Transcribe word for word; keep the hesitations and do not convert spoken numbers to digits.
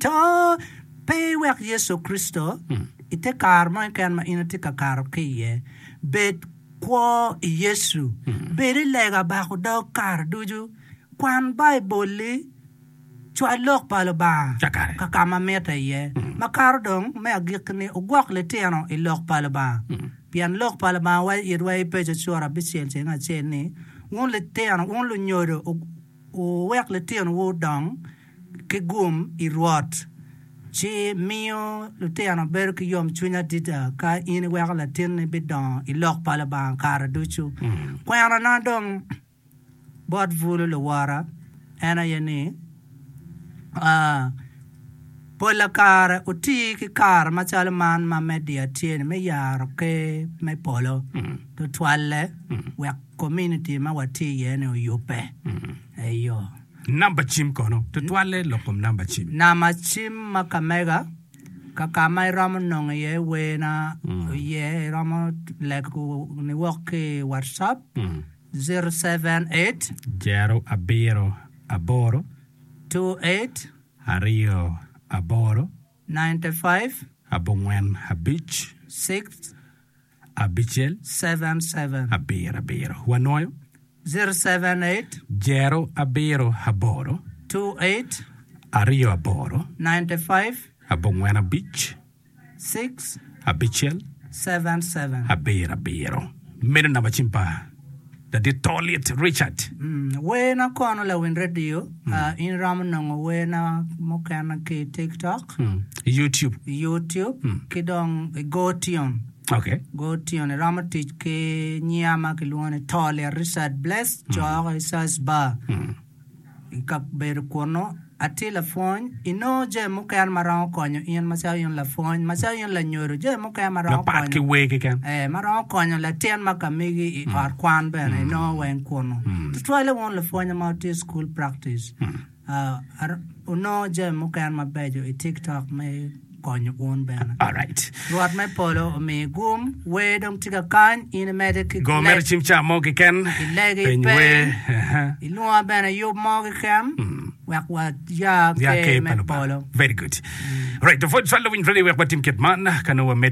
to pe iwek Yecu Kricito i te kare mo keken ma in itye ka kato ki iye bed kwo i Yecu bed i lega bako dog kare ducu kwan Baibul-li cwal lok pa Lubanga Kakare. ka ka ma mitte iye makato dong me agikki-ni ogwok litino i lok pa Lubanga pien lok pa Lubanga waco itwa i Epeco cura abicel ceng acel ni wun litino wun lunyodo wuwek litinowu odong ki gum i Rwot ci miyo lutino bedo ki yomcwiny adada ka in iweko latinni bidongo i lok pa Lubanga kare ducu kwenana dong bot bulu luwora en aye ni pola kare oti ki kare macalo man ma media tye-ni me yaro ker me polo tutwalle wek komuniti ma watye iye-ni oyubbe eyo Namba cim kono tutwalle lok kom namba cim. Namba cim ma ka mega ka ka ma iromo nongo iye werna iye iromo lego niwok ki i WhatsApp zero seven eight Jero abiro aboro two eight aryo aboro ninety five abongwen abic six abicel seven seven abiro abiro. Wanwoyo zero seven eight jero abiro aboro two eight aryo aboro ninety five abongwen abic six abicel seven seven. abiro abiro. Meno namba cim pa ladit Tolit Richard. Mm, werna kono lawiny radio uh, in iromo nongo werna mukene ki TikTok, Mm. YouTube. YouTube ki dong i GoTune. Okay. GoTune iromo tic ki nyinga ma kilwongo ni Tolit Richard Bless coko i search bar i kabedo kunu atye lapwony inongo jami mukene ma romo konyo in macalo in lapwony macalo in lanyodo jami mukene ma romo Mapat ki konyo wer keken. Eh, ma romo konyo latin ma ka megi i ot kwan bene inongo weng kunu tutwalle wun lapwony ma wutye i school practice uh, ar- onongo jami mukene mabeco i TikTok me konyo wun bene All right. Rwot me polo omi gum wer dong tye ka kany in imede ki Go mere cim ca mo keken. ilegi Peny peny wer. Uh-huh. ilwonga bene yub mo keken wek waya Ya ker ker me pa Lubanga. polo Very good. Right, the voice swallow win ready wek watim kit man kano wamete